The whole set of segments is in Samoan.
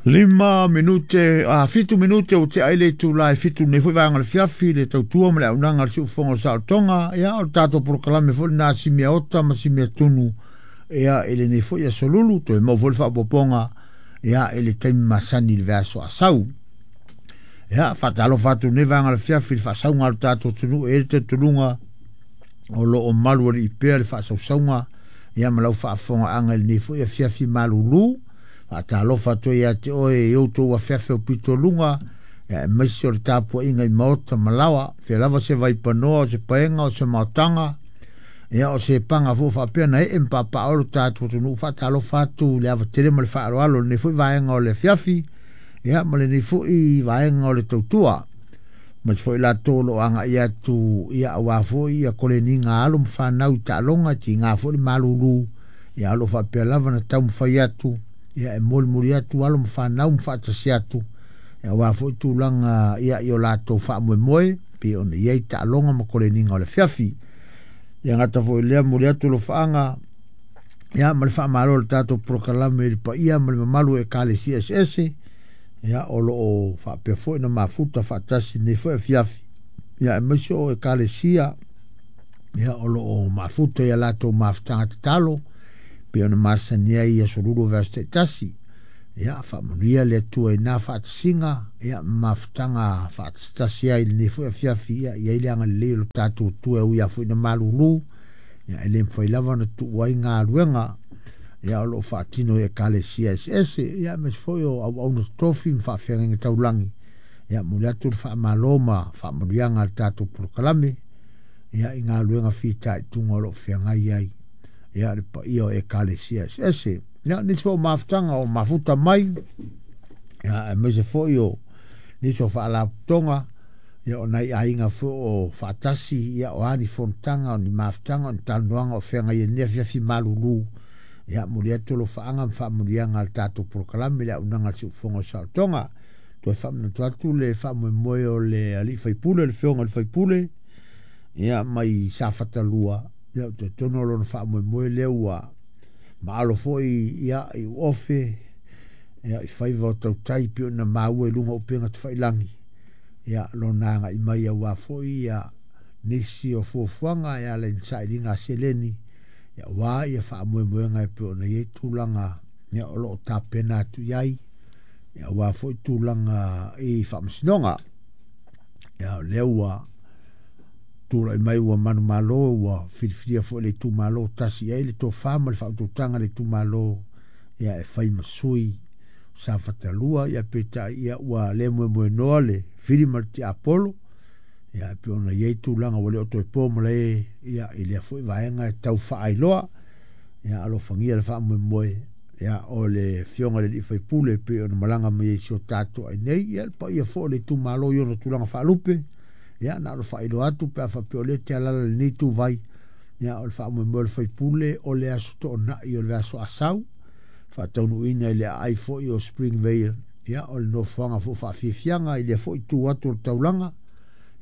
5 minute, 7 minute o te aile tū lai 7 nei foi vanga le fiafi le tautua ma le aunaga le siufofoga o le saolotoga. Ia o le tatou polokalame foi lena si mea ota ma si mea tunu ia i lenei foi aso lulu toe maua foi le faaopoopoga ia i le taimi masani i le vaiaso asau. Ia faatalofa atu nei vaega le fiafi i le faasauga a le tatou atunuu e i ai le talitonuga o lo o malu alii pea le faasausauga ia ma lau faafofogaaga i lenei foi afiafi malulu. Faatalofa atu ai ia te oe i outou afeafe o pitoluga ia aemaise o le tapuaiga i maota ma laoa, fea lava se vaipanoa o se paega o se maotaga ia o se paga foi faapea na ee ma paapaa lo tatou atunuu. Faatalofa atu i le ava tele ma le faaaloalo i lenei foi vaega o le afiafi ia ma lenei foi vaega o le tautua. Ma foi latou o lo o agai atu ia aua foi ia koleniga alo ma fanau i taaloga, tiga foi le malulu ia o lo o faapea lava na taumafai atu ia e molimoli atu alo ma fanau ma faatasi atu ia aua foi tulaga ia i o latou faamoemoe pei ona i ai taaloga ma koleniga o le afiafi. Ia gata foi lea momoli atu alofaaga ia ma le faamalo o le tatou polokalame i le paia ma le mamalu o ekalesia eseese ia o lo o faapea foi na mafuta faatasi nei foi afiafi ia aemaise o ekalesia ia o lo o mafuta ia latou mafutaga tatalo pei ona masani ai i aso lulu o vaiaso taitasi. Ia faamanuia le Atua i na faatasiga ia ma mafutaga faatasitasi ai i lenei foi afiafi ia i ai le agalelei o le tatou Atua e ui lava foi ina malulu ia e le mafai lava ona tuu ai galuega ia o lo o faatino i ekalesia eseese ia aemaise foi o auauna totofi ma faafeagaiga taulagi. Ia momoli atu le faamalo ma faamanuiaga a le tatou polokalame ia i galuega fitaituga o lo o feagai ai ia le paia o ekalesia eseese. Ia nisi foi o mafutaga o mafuta mai ia aemaise foi o nisi o faalapotopotoga ia o nai aiga foi o faatasi ia o a ni fonotaga o ni mafutaga o ni talanoaga o feagai ai nei afiafi malulu. Ia momoli atu alofaaga ma faamanuiaga a le tatou polokalame le auaunaga a le siufofoga o le saolotoga. Toe faamanatu atu le faamoemoe o le alii faipule, le afioga i le faipule ia mai Safata 2, ia ou te talitonu o lona faamoemoe lea ua maalo foi ia i uofe ia i faiva o tautai pei ona maua i luga o upega tafailagi ia lona agai mai aua foi ia nisi o fuafuaga e ala i ni sailiga a seleni ia aua ia faamoemoega e pei ona i ai tulaga ia o lo o tapena atu i ai ia aua foi tulaga i faamasinoga. Ia o lea ua tulai mai ua manumalo ua filifilia foi le itumalo tasi i ai le tofa ma le faautautaga le itumalo ia e fai ma sui Safata 2 ia peitai ia ua le moemoenoa le fili ma le tiapolo ia e pei ona i ai tulaga ua le o toe po malae ia i lea foi vaega e tau faailoa. Ia alofagia le faamoemoe ia o le afioga i le alii faipule pei ona malaga mai ai i si o tatou ai nei ia le paia foi o le itumalo i ona tulaga faalupe ia na ona faailoa atu pe a faapea o lea te alaala i lenei ituvai ia o le faamoemoe o le faipule o le aso toonai o le vaiaso asau faataunuuina i le aai foi o Springvale ia o le nofoaga foi faafiafiaga i lea foi itu atu o le taulaga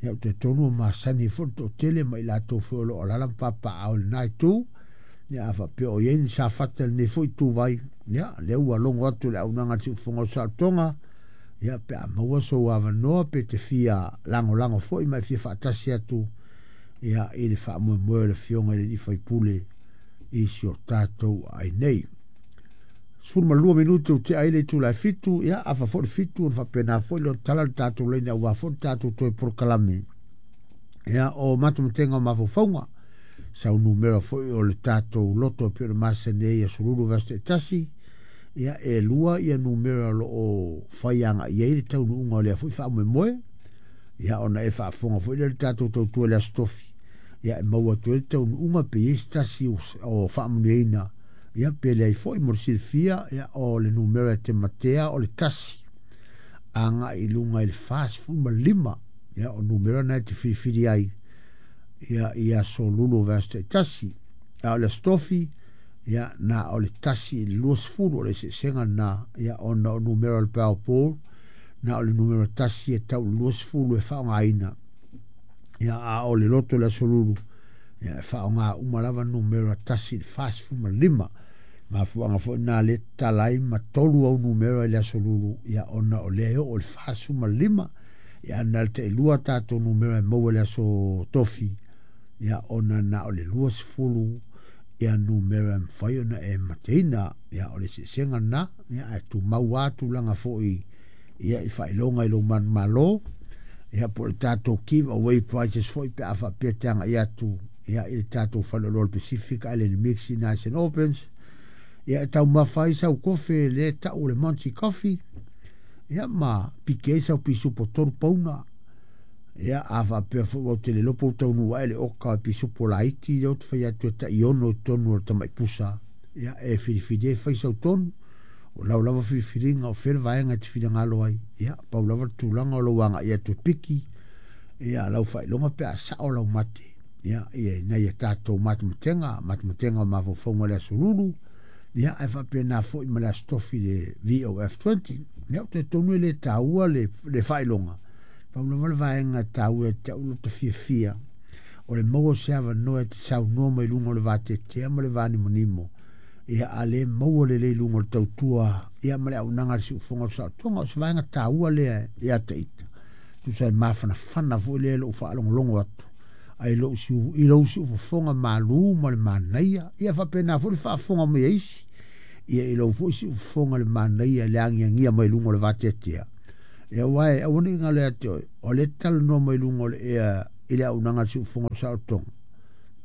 ia ou te talitonu ua masani foi le toatele ma i latou foi o lo o alaala ma papaaao i lena itu. Ia a faapea o i ai ni safata i lenei foi ituvai ia lea ua logo atu le auaunaga a le siufofoga o saolotoga ia pe a maua sou avanoa pe te fia lagolago foi ma e fia faatasi atu ia i le faamoemoe o le afioga i le alii faipule i si o tatou ai nei. 12 minute o te ai le itula e 7, ia afa foi le 7 ona faapena foi lea ona tala le tatou laina aua foi le tatou toe polokalame ia o matamatega o mafaufauga sau numera foi o le tatou loto e pei ona masani ai aso lulu vaiaso taitasi ia e 2 ia numera o lo o fai agai ai le taunuuga o lea foi faamoemoe ia ona e faafofoga foi lea i le tatou tautua i le aso tofi ia e maua atu ai le taunuuga pe i ai se tasi o faamanuiaina ia pe leai foi mo le silafia ia o le numera e te matea o le 1 agai i luga i le 45 ia o numera na e te filifili ai ia i aso lulu o vaiaso taitasi. A o le aso tofi ia na o le 1 i le 20 o le eseesega lena ia ona o numera o le Powerball na o le numera 1 e tau i le 20 e faaaogaina ia a o le loto le aso lulu ia e faaaoga uma lava numera 1 i le 45. Mafuaaga foi lena lea e tatala ai ma 3 au numera i le Aso Lulu, ia ona o lea e oo i le 45. Ia na o le tailua tatou numera e maua i le Aso Tofi, ia ona na o le 20 ia numera e mafai ona e mateina. Ia o le eseesega lena, ia ae tumau lava tulaga foi ia i faailoga i lou manumalo, ia po o le tatou give away prizes foi pe a faapea e te agai atu ia i le tatou faleoloa o le Pacific Island Mix i na St Albans. Ia e taumafa ai sau kofe le tau o le Monty Coffee, ia ma piki ai sau pisupo 3 pauna. Ia a faapea foi ua te le iloa pe ua taunuu ae le oka o pisupo laiti lea ou te fai atu e tai 6 i totonu o le tamai pusa. Ia e filifili ai fai sau tonu, o lau lava filifiliga o fea le vaega e te finagalo ai. Ia pau lava le tulaga o lou agai atu e piki ia lau faailoga pe a sao lau mate. Ia ia nai a tatou matematega, matematega o mafaufauga i le Aso Lulu, ia ae faapena foi ma le Aso Tofi le VOF20. Ia ou te talitonu e le taua le faailoga, pau lava le vaega e taua ia te au lo ta fiafia o le maua o se avanoa e te saunoa mai luga o le vateatea ma le vanimonimo. Ia a le maua lelei luga o le tautua ia ma le auaunaga a le siufofoga o le saotoga, o se vaega taua lea ia te ita. Tusa e mafanafana foi lea i lou faalogologo atu ai lou siu, i lou siufofoga malu ma le manaia. Ia faapena foi le faafofoga mai a isi, ia i lou foi siufofoga le manaia le agiagia mai luga o le vateatea. Ia aua e aua ne i galo ia te oe, o lea e talanoa mai luga o le ea i le auaunaga a le siufofoga o le saotoga,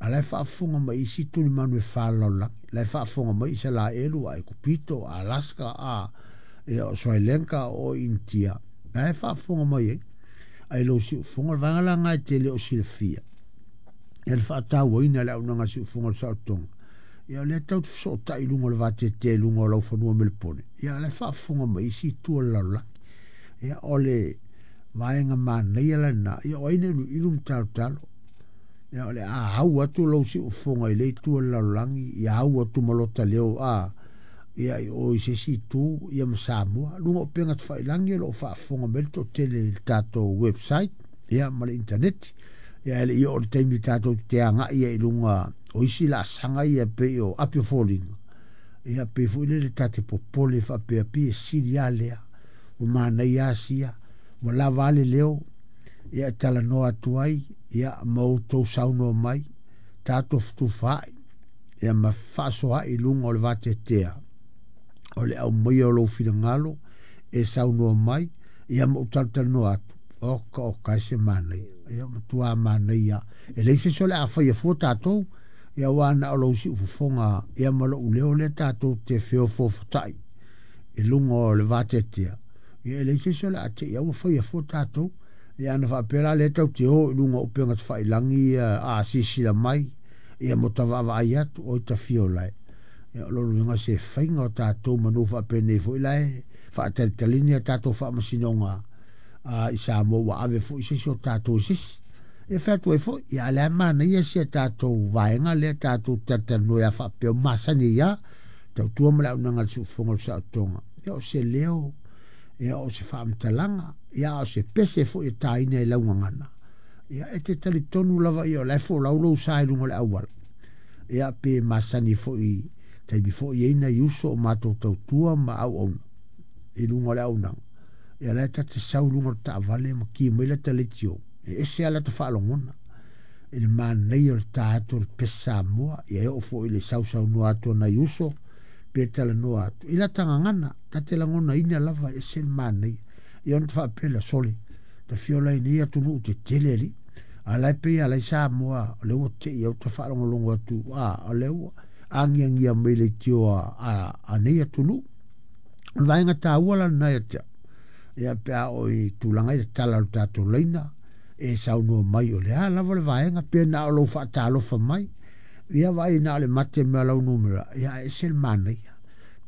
a la e faafofoga mai isi tulimanu e falalolagi, la e faafofoga mai Isalaelu, Aikupito, Alaska, a ia o Sri Lanka, o Initia, la e faafofoga mai ai. Ai lou siufofoga, o le vaega la lena e te le o silafia, ia le faatauaina le auaunaga a le siufofoga o le saotoga. Ia o lea tau te fesootai i luga o le vateatea i luga o laufanua melepone, ia la e faafofoga mai isi itu o le lalolagi. Ia o le vaega manaia lena, ia o ai na iluilu ma talotalo. Ia o le a au atu lou siufofoga i le itu o le lalolagi, ia au atu ma lota leo a ia i o i se isi itu ia ma Samoa. Luga o upega tafailagi o lo o faafofoga mai le toatele i le tatou website ia ma le internet. Ia e le i oo le taimi tatou te agai ai i luga o isi laasaga ia pei o api o foliga. Ia pei foi lele ta te popole faapea pi e sili lava lea, ua manaia asia, ua lava le leo, ia e talanoa atu ai, ia ma outou saunoa mai, tatou fetufaai, ia ma faasoaai i luga o le vateatea o le aumaia o lou finagalo e saunoa mai, ia ma ou talatalanoa atu. Oka oka e se manaia, ia matua manaia. E leai se isi o le a faia fua tatou, ia aua na o lou siufofoga ia ma lou leo lea tatou te feofoofotai i luga o le vateatea. Ia e leai se isi o le a te i au faia fua tatou. Ia ana faapea la lea tau te o i luga o upega tafailagi ia a sisila mai, ia mo ta vaavaai atu o i tafia o lae. Ia o lona uiga se faiga o tatou manu faapenei foi la e faatalitali a tatou faamasinoga a i Samoa ua ave foi se isi o tatou i se isi. Ia fai atu ai foi, ia a lea manaia si a tatou vaega lea tatou talatalanoa ia faapea o masani ia tautua ma le auaunaga a le siufofoga o le saotoga. Ia o se leo, ia o se faamatalaga, ia o se pese foi e taina i laugagana. Ia e te talitonu lava ia o la e folau lou sa i luga o le auala. Ia pe masani foi taimi foi e nai uso o matou tautua ma auauna i luga o le auaunaga. Ia la e ta te sau i luga o le taavale ma ki mai lata leitio. E ese lava lata faalogona i le manaia o le ta atu o le pese Samoa. Ia e oo foi i le sausaunoa atu o nai uso pe talanoa atu i lata gagana, ta te lagonaina lava e ese le manaia. Ia ona faapea lea, sole, ta fiola i nei atunuu tetele alii. A la e pei a la i Samoa, o lea ua tei au ta faalogologo atu, a o lea ua agiagia mai leitio a nei atunuu. O le vaega taua la lena ia te au. Ia pe a o i tulaga i le tala o le tatou laina, e saunoa mai o le a lava le vaega, pe na o lou faatalofa mai, ia vaai na o le mate mea lau numera, ia e ese le manaia.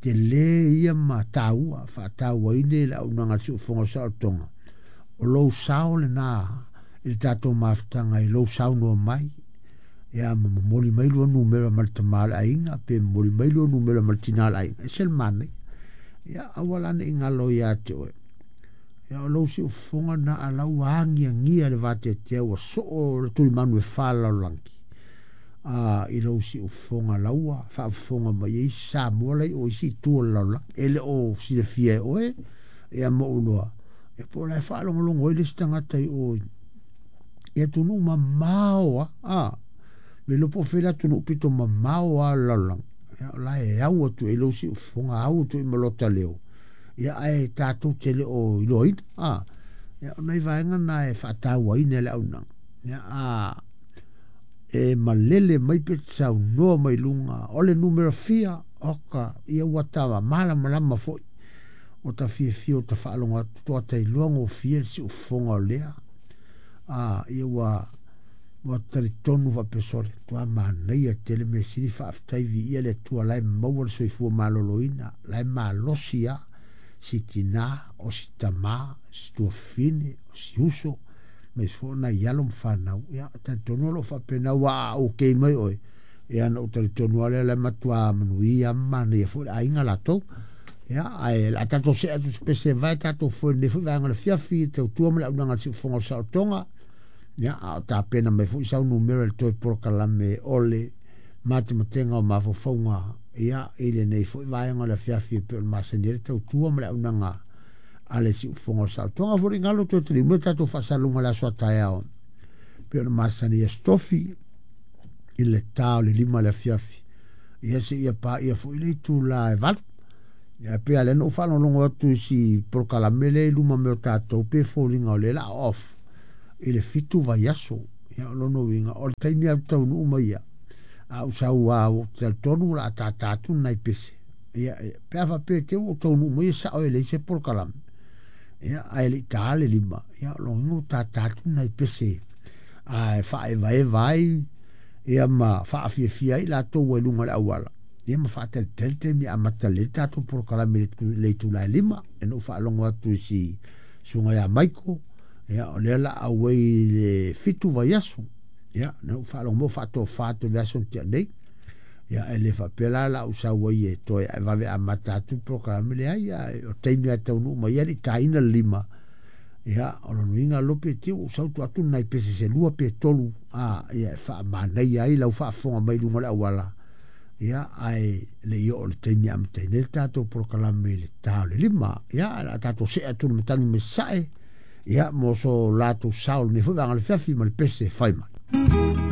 Te le ia ma taua, faatauaina i le auaunaga a le siufofoga o le saolotoga. O lou sao lena i le tatou mafutaga i lou saunoa mai, ia ma momoli mai lua numera ma le tama o le aiga, pe momoli mai lua numera ma le tina o le aiga, ese le manaia. Ia aua la ne i galo ia te oe. Ia o lou siufofoga na a lau agiagia le vateatea ua soo le tulimanu e falalolagi. i lou siufofoga laua faafofoga mai ai isi Samoa la i o isi itu o le lalolagi e le o silafia e oe ia ma ou iloa ia po o la e faalogologo ai le isi tagata i o i atunuu mamao lava a le iloa po o fea le atunuu pito mamao lava o le lalolagi ia o la e au atu i ai lou siufofoga au atu i ai ma lota leo ia ae tatou te le o iloaina a ia o nai vaega na e faatauaina e le auaunaga ia a e malele mai pe te saunoa mai luga o le numera fia oka ia ua ta malamalama foi ua ta fiafia ua ta faalogo atu toa ta iloa gofie le siufofoga o lea a ia ua ua talitonu faapea sole matua manaia tele mea sili faafetai viia le Atua la e maua le soifua maloloina la e malosi lava si tina o si tama si tuafafine o si uso aemaise foi o nai alo ma fanau. Ia, talitonu o lo o faapena, aua a okay mai oe, ia ona ou talitonu lava lea o la e matua manuia ma manaia foi le aiga latou. Ia, ae o le a tatou see atu i se pese e vae tatou foe i lenei foi vaega o le afiafi i le tautua ma le auaunaga a le Siufofoga o le Saolotoga. Ia, a o tapena mai foi sau numera i le toe polokalame o le matematega o mafaufauga ia, i lenei foi vaega o le afiafi e pei ona masani ai le tautua ma le auaunaga a le Siufofoga o le Saolotoga. Foi le galo toe taliu mai tatou faasalaluga i le aso a taeao pei ona masani i Aso Tofi i le ta o le 5 i le afiafi ia seia paia foi le itula e 8. Ia pei lava lea na ou faalogologo atu i si polokalame lea i luma mai o tatou pe foliga o lea o le a off i le 7 vaiaso. Ia o lona uiga o le taimi lava ou te taunuu mai ai, a ou sau lava ou te talitonu o le a tata atu nai pese. Ia, pe a faapea te i ua ou taunuu mai e sao e leai se polokalame, ia, ae le i ta le 5, ia, o lona uiga ua tata atu nai pese ae faaevaeva ai ia ma faafiafia ai latou ua i luga o le auala, ia ma faatalitali taimi e amata lelei le tatou polokalame i le itula e 5. Ia na ou faalogo atu i si susuga ia Michael, ia, o lea o le a auai i le 7 vaiaso. Ia, na ou faalogo mai o faatofa atu i le aso na tea nei. Ia, e le faapea la la ou sau ai e toe vave amata atu le polokalame, leai, ae o taimi lava e taunuu mai ai le i taina le 5, ia, o lona uiga lope te i ua ou sau tuu atu nai pese se 2 pe 3, a, ia, e faamanaia ai lau faafofoga mai i luga o le auala, ia, ae le i oo i le taimi e amataina ai le tatou polokalame i le ta o le 5. Ia, ae o le a tatou see atu i le matagi mai sasae, ia, mo so latou sao i lenei foi vaega o le afiafi ma le pese fai mai.